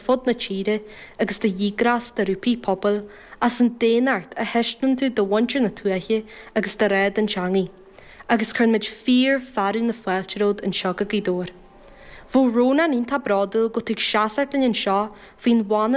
fud na tíre agus do dhíograis do ghrúpaí pobail as an daonnacht a thaispeáin tú do mhuintir na tuaithe agus do ghrá don teangaidh. Agus cuireann muid fíor-fhearadh na fáilte romhat anseo go Gaoth Dobhair. Bheadh Rónán iontach bródúil go bhfuil tú ag seasacht linn anseo faoin mhana.